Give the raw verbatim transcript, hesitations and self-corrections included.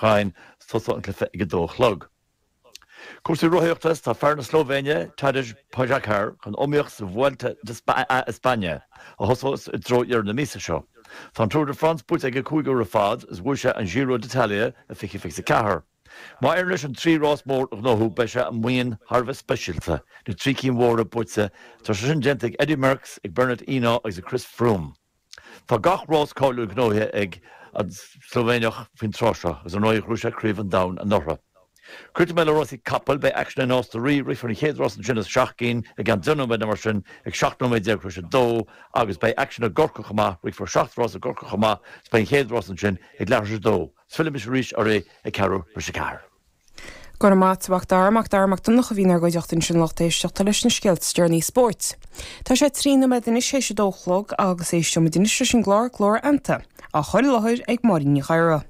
Jaén tosóidh an cluiche ag a dó a chlog. Cúrsaí rothaíochta tá fear na Slóivéine Tadej Pogačar chun iomaíocht sa Vuelta a España a thosós i dtreo dheireadh na míosa seo. Tá an Tour de France buaite aige cúig uair ar fad is bhuaigh sé an Giro d'Italia i fiche fiche ceathair. Má éiríonn leis an trí rás mór a ghnóthú beidh sé i mbuíon thar a bheith speisialta na trí cinn mhóra buaite tá sé sin déanta ag Eddie Merckx ag Bernard Hinault agus ag Chris Froome. Tá gach rás cáiliúil gnóthaithe ag an Slóivéineach faoin tráth seo agus an bhuaigh sé craobh an domhain anuraidh. Críochnóidh mé le rásaí capall beidh aicsean i Nás na Rí rithfear an chéad rás ansin as seacht gcinn i gceann deich nóiméad mar sin ag seacht nóiméad déag tar éis a dó agus beidh aicsean i gCorcaigh chomh maith rithfear seacht rás i gCorcaigh chomh maith is beidh an chéad rás ansin ag leathuair tar éis a dó. Fillfidh mise arís oraibh ag ceathrú tar éis a ceathair. Go raibh maith agat Dara Mac Dara Mac Donncha a bhí inár gcuideachta ansin lucht éisteachta leis na scéalta is deireanaí spóirt. Tá sé trí nóiméad anois théis a dó a chlog agus éisteoimid anois leis an gclár Glór Fheannta á chur i láthair ag Máirín Ní Ghadhra.